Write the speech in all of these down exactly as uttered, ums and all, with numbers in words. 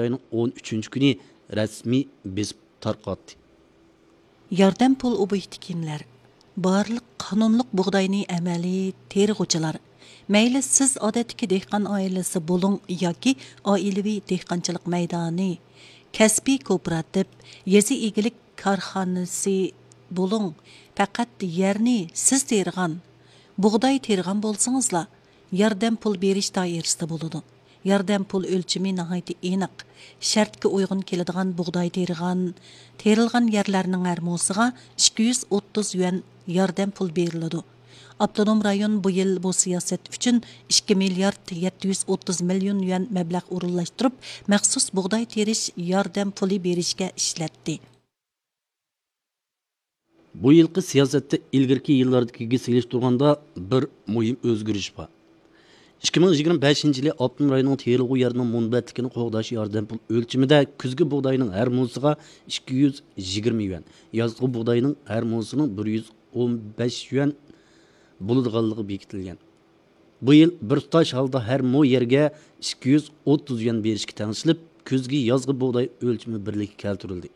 ئاينىڭ ئون ئۈچىنچى كۈنى رەسمىي بېسىپ تارقاتتى. ياردەم پۇل ئوبيېكتى كىملەر؟ بارلىق قانۇنلۇق بۇغداينى ئەمەلىي تېرىغۇچىلار. مەيلى سىز ئادەتتىكى دېھقان ئائىلىسى بولۇڭ ياكى ئائىلىۋى دېھقانچىلىق مەيدانى، كەسپىي كوپىراتىپ، يېزا ئىگىلىك كارخانىسى بولۇڭ، پەقەت يەرنى سىز تېرىغان، بۇغداي تېرىغان بولسىڭىزلا، ياردەم پۇل بېرىش دائىرىسىدە بولىدۇ. ياردەم پۇل ئۆلچىمى ناھايىتى ئېنىق. شەرتكە ئۇيغۇن كېلىدىغان بۇغداي تېرىغان، تېرىلغان يەرلەرنىڭ ھەر موسىغا ئىككى يۈز ئوتتۇز يۈەن ياردەم پۇل بېرىلىدۇ. ئاپتونوم رايون بۇ يىل بۇ سىياسەت ئۈچۈن ئىككى مىليارد يەتتە يۈز ئوتتۇز مىليون يۈەن مەبلەغ ئورۇنلاشتۇرۇپ، مەخسۇس بۇغداي تېرىش ياردەم پۇلى بېرىشكە ئىشلەتتى. بۇ يىلقى سىياسەتتە ئىلگىرىكى يىللاردىكىگە سېلىشتۇرغاندا بىر مۇھىم ئۆزگىرىش بار. ئىككى مىڭ يىگىرمە بەشىنچى يىلى ئاپتونوم رايوننىڭ تېرىلغۇ يەرنىڭ مۇنبەتلىكىنى قوغداش ياردەم پۇل ئۆلچىمىدە كۈزگى بۇغداينىڭ ھەر موسىغا ئىككى يۈز يىگىرمە يۈەن، يازغى بۇغداينىڭ ھەر موسىنىڭ بىر يۈز ئون بەش يۈەن بولىدىغانلىقى بېكىتىلگەن. بۇ يىل بىر تۇتاش ھالدا ھەر مو يەرگە ئىككى يۈز ئوتتۇز يۈەن بېرىشكە تەڭشىلىپ، كۈزگى، يازغى بۇغداي ئۆلچىمى بىرلىككە كەلتۈرۈلدى.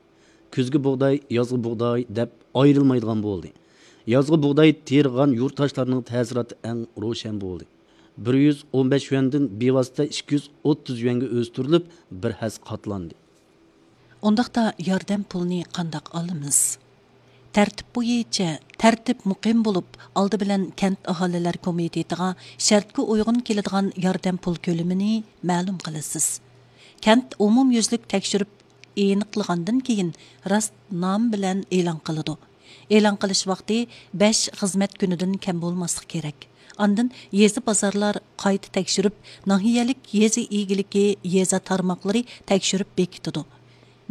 كۈزگى بۇغداي، يازغى بۇغداي دەپ ئايرىلمايدىغان بولدى. يازغى بۇغداي تېرىغان يۇرتداشلارنىڭ تەسىراتى ئەڭ روشەن بولدى. بىر يۈز ئون بەش يۈەندىن بىۋاسىتە ئىككى يۈز ئوتتۇز يۈەنگە ئۆستۈرۈلۈپ، بىر ھەسسە قاتلاندى. ئۇنداقتا ياردەم پۇلىنى قانداق ئالىمىز؟ تەرتىپ بويىچە، تەرتىپ مۇقىم بولۇپ، ئالدى بىلەن كەنت ئاھالىلەر كومىتېتىغا شەرتكە ئۇيغۇن كېلىدىغان ياردەم پۇل كۆلىمىنى مەلۇم قىلىسىز. كەنت ئومۇميۈزلۈك تەكشۈرۈپ ئېنىقلىغاندىن كېيىن، راست نام بىلەن ئېلان قىلىدۇ. ئېلان قىلىش ۋاقتى بەش خىزمەت كۈنىدىن كەم بولماسلىقى كېرەك. ئاندىن يېزا، بازارلار قايتا تەكشۈرۈپ، ناھىيەلىك يېزا ئىگىلىكى، يېزا تارماقلىرى تەكشۈرۈپ بېكىتىدۇ.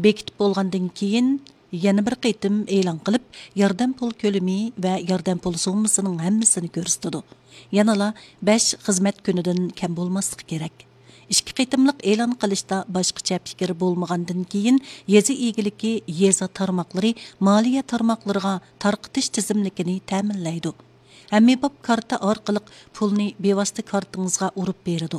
بېكىتىپ بولغاندىن كېيىن، يەنە بىر قېتىم ئېلان قىلىپ، ياردەم پۇل كۆلىمى ۋە ياردەم پۇل سوممىسىنىڭ ھەممىسىنى كۆرسىتىدۇ. يەنىلا بەش خىزمەت كۈنىدىن كەم بولماسلىقى كېرەك. ئىككى قېتىملىق ئېلان قىلىشتا باشقىچە پىكىر بولمىغاندىن كېيىن، يېزا ئىگىلىكى، يېزا تارماقلىرى مالىيە تارماقلىرىغا تارقىتىش تىزىملىكىنى تەمىنلەيدۇ. ھەممىباب كارتا ئارقىلىق پۇلنى بىۋاسىتە كارتىڭىزغا ئۇرۇپ بېرىدۇ.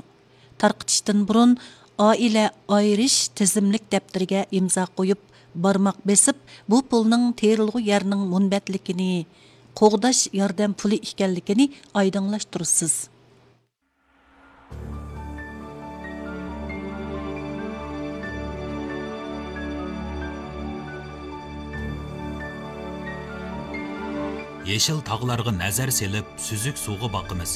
تارقىتىشتىن بۇرۇن، ئائىلە ئايرىش تىزىملىك دەپتىرىگە ئىمزا قويۇپ، بارماق بېسىپ، بۇ پۇلنىڭ تېرىلغۇ يەرنىڭ مۇنبەتلىكىنى قوغداش ياردەم پۇلى ئىكەنلىكىنى ئايدىڭلاشتۇرىسىز. يېشىل تاغلارغا نەزەر سېلىپ، سۈزۈك سۇغا باقىمىز.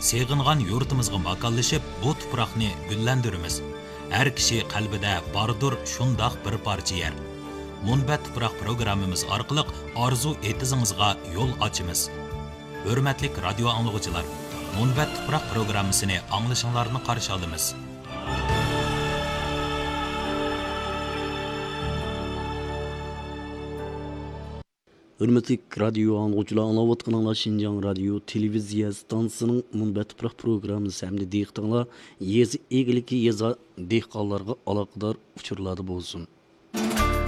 سېغىنغان يۇرتىمىزغا ماكانلىشىپ، بۇ تۇپراقنى گۈللەندۈرىمىز. ھەر كىشى قەلبىدە باردۇر شۇنداق بىر پارچە يەر. مۇنبەت تۇپراق پروگراممىمىز ئارقىلىق ئارزۇ ئېتىزىڭىزغا يول ئاچىمىز. ھۆرمەتلىك رادىيو ئاڭلىغۇچىلار، مۇنبەت تۇپراق پروگراممىسىنى ئاڭلىشىڭلارنى قارشى ئالىمىز. ھۆرمەتلىك رادىيو ئاڭلىغۇچىلار، ئاڭلاۋاتقىنىڭلار شىنجاڭ رادىيو تېلېۋىزىيە ئىستانسىسىنىڭ مۇنبەت تۇپراق پروگراممىسى ھەمدە دىققىتىڭلار يېزا ئىگىلىكى، يېزا دېھقانلارغا ئالاقىدار ئۇچۇرلاردا بولسۇن.